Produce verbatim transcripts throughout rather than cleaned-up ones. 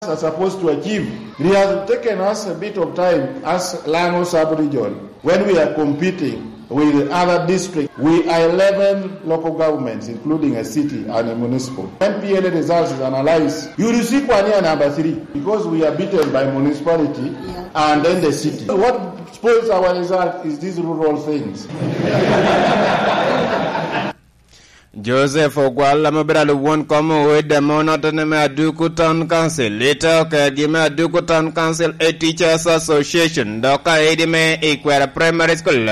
are supposed to achieve. It has taken us a bit of time as Lango sub-region when we are competing with other districts. We are eleven local governments, including a city and a municipal. When P L A results is analyzed, you will see Kwania number three because we are beaten by municipality and then the city. What spoils our result is these rural things. Joseph Ogwal ame obedo alwon kom owede ame onotene me Aduku Town Council, ite okergi me Aduku Town Council A Teachers Association, dok aedi me Ikwera Primary School,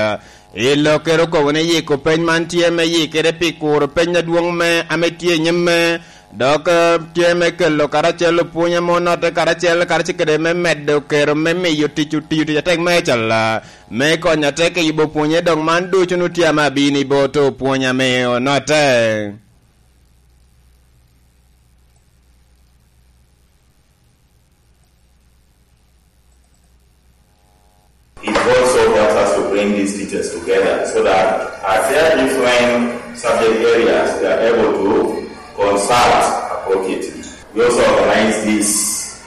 i Lokere okobo ni yiko peny man tye me yikere pi kuro peny adwoŋ me ame tye i nyimme, dok eh, tye me kelo karacel opwony ame onotte karacel, karacel kede me medo kero me miyo tic otiyo tic atek me calla me konyo atek i yubo pwonye, dok man ducu nu tye ame abino i bot opwony ame onotte. It also helps us to bring these teachers together so that as there are different subject areas, they are able to consult appropriately. We also organize this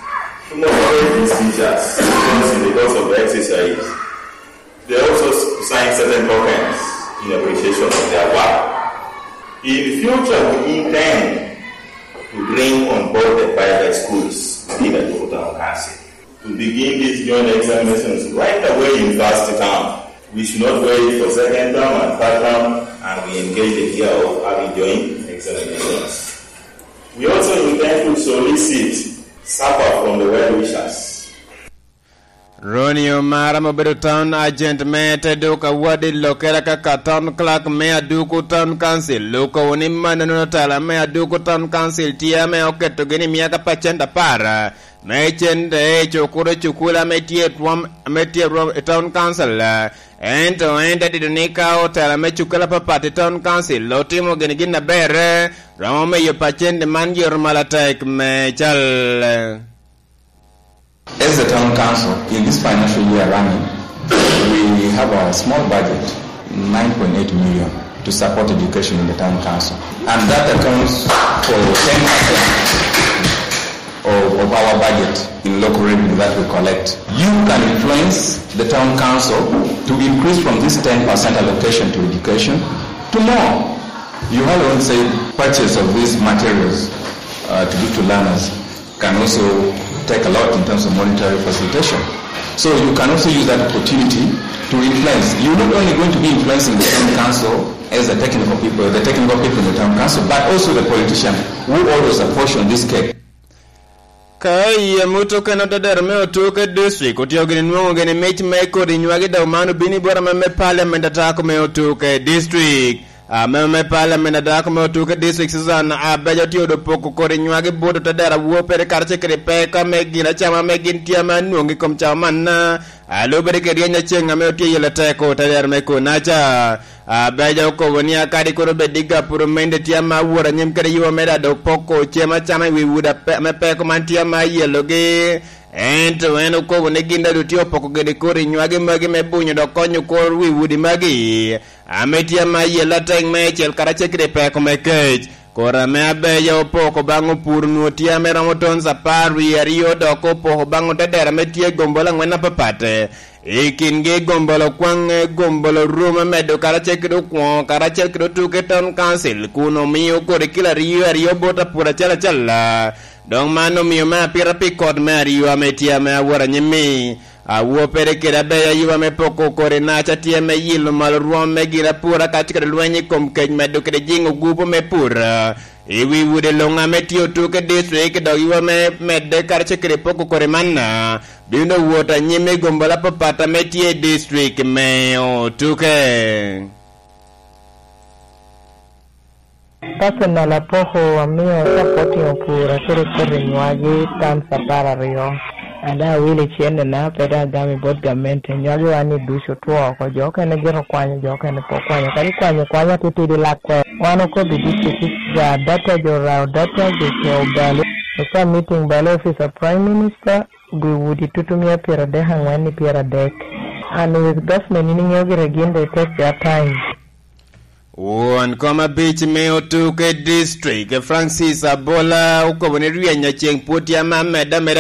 to motivate these teachers because in the course of the exercise, they also sign certain tokens in appreciation of their work. In the future, we intend to bring on board the private schools in the Town Council to begin these joint examinations right away in first term. We should not wait for second term and third term, and we engage the idea of having joint examinations. We also intend to solicit support from the well wishers. Ronnie Omara ma obedo town agent me te duka wadi lokere kaka town clerk me Aduku Town Council okobo ni mannono tala me Aduku Town Council tye ame oketogi ni myaka pacent apar me cente i cukulu cukulu ame tye i rwom ame tye i rwom i Town Council. Ento en te tito ni ka otela me cukulu apapat i Town Council otimo gin gin aber, romo miyo pacent man yero malatek me cal. As the town council, in this financial year running, we have a small budget, nine point eight million, to support education in the town council. And that accounts for ten percent of, of our budget in local revenue that we collect. You can influence the town council to increase from this ten percent allocation to education to more. You have also said purchase of these materials uh, to give to learners can also take a lot in terms of monetary facilitation. So you can also use that opportunity to influence. You're not only going to be influencing the town council as the technical people, the technical people in the town council, but also the politician who always apportion this cake. Ka i amut okene otedero me otuke district otio gini nwoŋo gini mic me kodi nywagi dok man obino i bot ameme parliament atako me otuke district. Ameme me parliament adako me otuke district Susan Abeja otye odo poko kodi nywagi bot otedero awopere karacel kede peko ame gin acama ame gin tye ame anwoŋo i kom cawa manna. Alubere kede ryeny aceŋ ame otye yelo teko otedero me konaca. Abeja okobo ni akadi kono bed i gapuro mende tye ame awot anyim kede yubo me dado poko cem acama i wi wud ame peko man tye ame ayelogi. Ento en okobo ni gin dado tye opoko gini kodi nywagi magi me bunyo dok konyo kor wi wudi magi. Ame tye ame ayelle atek meicel karacel kede peko me kec. Kor ame abeja opoko baŋ opur nwo tye ame romo tons apar wie aryo dok opoko baŋ otedero ame tye gombol aŋwen apapat. I kingi gombol okwaŋe gombol orume medo karacel kede okwoŋo karacel kede otuke town council kun omio kodi kilo aryo aryo bot apur acel acel. Dok man omio me apita pi kot me aryo ame tye ame awot anyim-mi. Awopere kede abeya yuba me poko kodi naca tye me yilo malo rwom me gin apura kacel kede lweny i kom kec medo kede jiŋo gupu me pur i wi wode loŋ ame tye otuke district dok yuba me medde karacel kede poko kodi manna bino wot anyim i gombol apapat ame tye i district me otuke. Personal apoko amio supporting opura kede kodi nywagi times apar aryo. Ada awilo cennena pe dong agamo i bot gamente, nywagi wan ni ducu otwo oko, jo okene gin okwanyo, jo okene pe okwanyo. Kadi kwanyo kwanya titidi lak kwer. Wan okobo i district ga data, jo rao data, jo coo balo, osa meeting balo office of Prime Minister, gwi wudi tutu mia pyeradek angwen i pyeradek. And with government in ingeyo gire gin they take their time. Won kom abic me otuke district Francis Abola okobo ni ryeny aceng pwod tye ame amedde ameda.